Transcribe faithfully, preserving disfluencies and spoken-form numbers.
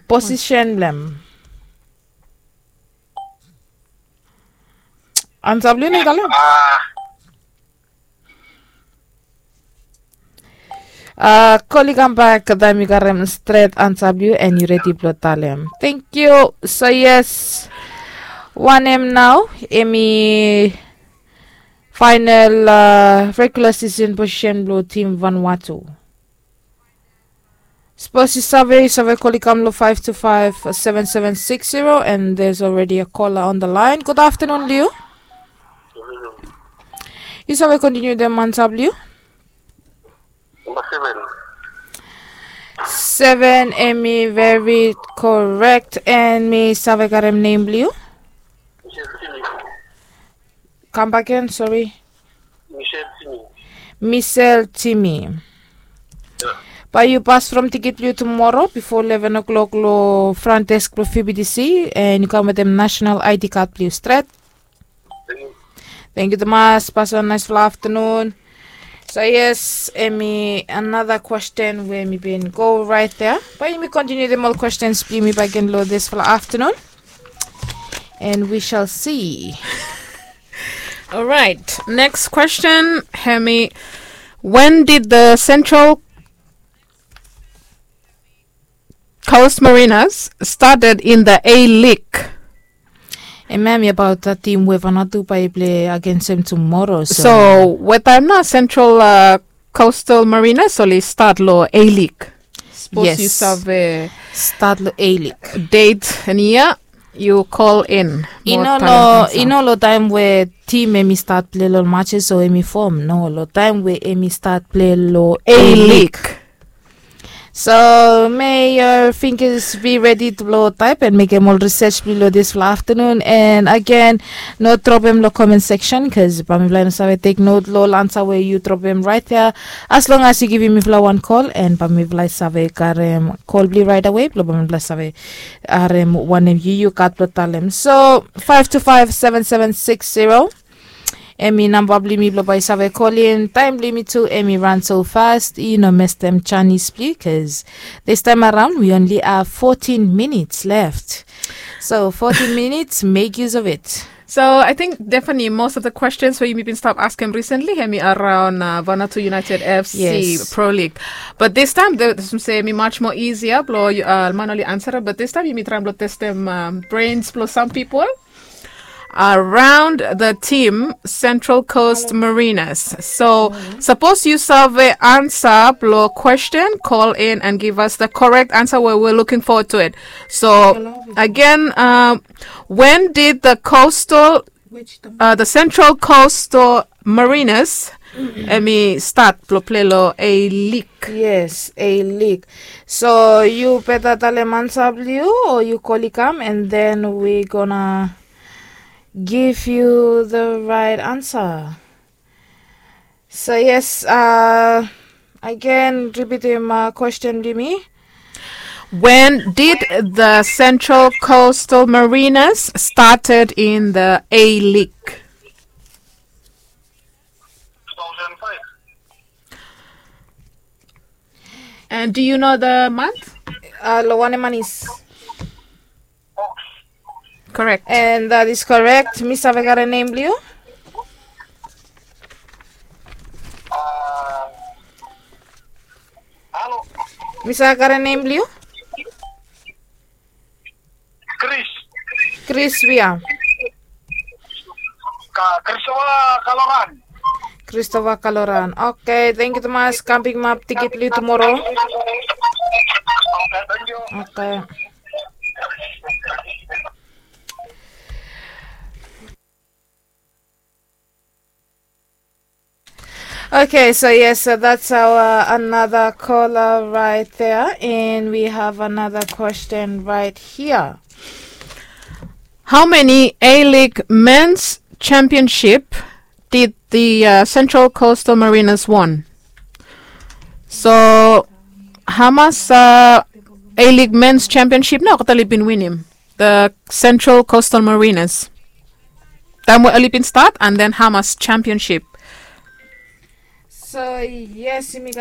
Position blem. Ansa blong yu talem. Kol i kambak taem yu karem stret ansa blong yu and yu redi blong talem. Thank you. So yes, wanem nao? Em i final regular season position blong tim Vanuatu. Sapos yu save, yu save kol i kam long five two five seven seven six zero, and there's already a caller on the line. Good afternoon, Liu. Yu save kontiniu dem ansa blong yu. Namba seven. Seven, em i very correct, and mi save karem nem blong yu. Kambak gen, sori. Michelle Timi. Michelle Timi. Bae yu pas from tikit blong yu tumoro bifo eleven o'clock long front desk blong V B T C, and yu kam wetem national I D card blong yu stret. Thank you tumas, pas wan naesfala aftanun. So yes, em i another question we mi bin go right there. Bae yumi kontiniu dem ol questions blong yumi bakegen long disfala aftanun. And we shall see. All right. Next question, Hemi. When did the Central Coast Mariners started in the A League? Em ya mi abaot tim we Vanuatu bae i plei agensem tumoro. So wetaem nao Central Coastal Mariners oli stat long A League? Sapos yu save stat long A League. Deit and yia, yu kol in. I no long taem we tim em i stat plei long matches o em i fom. No, long taem we em i stat plei long A League. So may your fingers be ready blong taep and mekem ol risej blong yu long disfala aftanun. And agen, no dropem long comment section, bikos bae mifala i no save tek not long ol ansa we yu dropem raet ya. As long as yu givim mifala wan kol, and bae mifala i save karem kol blong yu raet awe blong bae mifala i save harem wanem yu yu gat blong talem. So five two five seven seven six zero, em i namba blong yumi blong bae yu save kolin. Taem blong yumi tu em i ran so fast, yu no mestem janis blong yu, bikos this time around we only have fourteen minutes left. So fourteen minutes, make use of it. So I think definitely most of the questions we yumi bin stap askem recently hemi around Vanuatu United F C Pro League. But this time, hemi much more easier blong man oli ansarem. But this time yumi traem blong testem brains blong some people around the team Central Coast Mariners. So sapos yu save ansa blong question, call in and give us the correct answer. We're, we're looking forward to it. So again, um, when did the coastal, uh, the Central Coastal Mariners, hemi stat blong plei long A League? Yes, A League. So yu beta talem ansa blong yu o yu kol i kam, and then we gonna give you the right answer. So yes, uh, again, repeat him uh, question blong yumi. When did the Central Coastal Mariners started in the A League? And do you know the month? Uh, long wanem man is? Correct. And that is correct. Mi save karem nem blong yu? Mi save karem nem blong yu? Chris. Chris wea? Christopher Kaloran. Christopher Kaloran. Okay, thank you tumas. Kam pikimap tikit blong yu tumoro. Okay, thank you. Okay. Okay, so yes, so that's our another caller right there, and we have another question right here. How many A League men's championship did the uh, Central Coastal Mariners won? So hamas uh, A League men's championship nao olgeta oli bin winim? The Central Coastal Mariners. Taem we oli bin stat, and then hamas championship. So yes, yumi gat